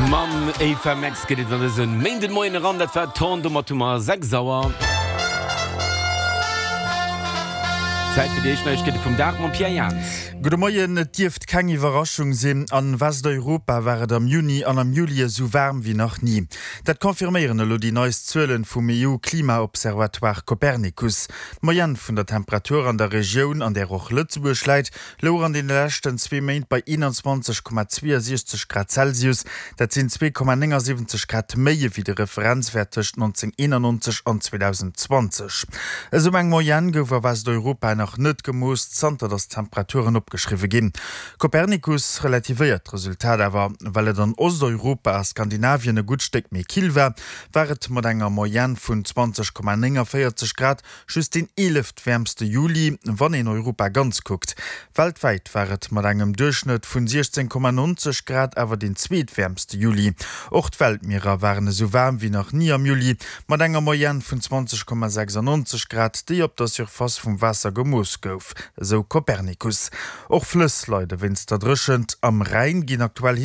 Mam Ava Max geet et an dëse Méindenmoien eran. Dat war Torn. Domat hu mer 6 Auer. Zäit fir déi éischt Neiegkeete vum Dag mam Pierre Jans. Gudde Moien. Et dierft keng Iwwerraschung sinn, An Westeuropa war et am Juni an am Juli esou waarm wéi nach ni. Dat confirméieren elo déi neist Zuelen vum EU-Klimaobservatoire Copernicus. D'Moyenne vun der Temperatur an der Regioun, an där och Lëtzebuerg läit, louch an deene leschten zwee Méint bei 21,62 Grad Celsius. Dat sinn 2,79 Grad méi ewéi de Referenzwäert tëscht 1991 an 2020. Esou eng Moyenne gouf a Westeuropa nach net gemooss, zanter datt d'Temperaturen opgeschriwwe ginn. Copernicus relativéiert d'Resultat awer. Well et an Osteuropa a Skandinavien e gutt Stéck méi kill war, war et mat enger Moyenne vun 20,49 Grad just deen eeleft-wäermste Juli, wann een Europa ganz kuckt. Weltwäit war et mat engem Duerchschnëtt vun 16,90 Grad awer deen zweetwäermste Juli. Och d'Weltmierer waren esou waarm wéi nach ni am Juli, mat enger Moyenne vun 20,96 Grad, déi op der Surface vum Waasser gemooss gouf, esou Copernicus. Och Flëss leide wéinst der Dréchent. Am Rhäin ginn aktuell.